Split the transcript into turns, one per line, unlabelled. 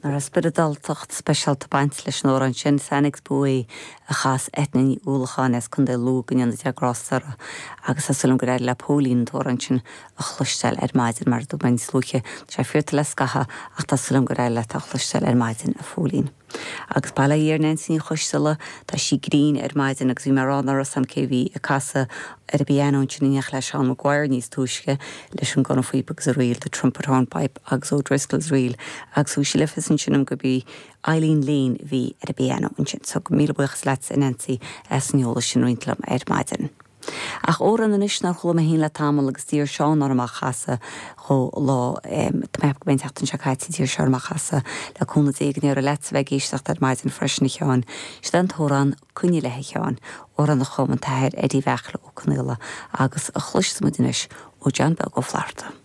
Nach raibh spioradáltacht speisialta ag baint leis an amhrán sin, Sanaig's Buaidh a chas Eithne Ní Uallacháin as Contae Lú, go ndéana Dia grásta uirthi, agus tá súil agam gur éirigh le Póilín an t-amhrán sin a chloisteáil ar maidin, mar a dúirt mé níos luaithe, tá sé fiorta le scaitheamh ach tá súil agam gur éirigh leat é a chloisteáil ar maidin, a Phóilín. Agus bail ó Dhia ar Neansaí Ní Choisdealbha, tá sí grinn ar maidin agus bhí mé ag rá nach raibh 's a'm cé bhí ag casadh ar an bpianó ansin in éineacht le Seán Maguire níos túisce leis an gcorn phíopa agus an ríl, The Trumpet Hornpipe agus O'Driscoll's Reel agus thug sí le fios ansin dom gurb í Eileen Lane a bhí ar an bpianó ansin. So míle buíochas leatsa a Neansaí as an eolas sin a roinnt liom ar maidin. Ach amhrán anois nár chuala mé féin le tamall agus d'iarr Seán orm é a chasadh dhó lá, tá mé ag ceapadh go mb'é an tseachtain seo caite a d'iarr sé orm é a chasadh, le cúnamh Dé go n-éireoidh leatsa bheith ag éisteacht ar maidin freisin a Sheáin. Siod é an t-amhrán Coinnigh Leith a Sheáin, amhrán a chum an tAthair Eddie Bheartla Ó Conaola agus a chloisfidh muid anois ó John Beag Ó Flatharta.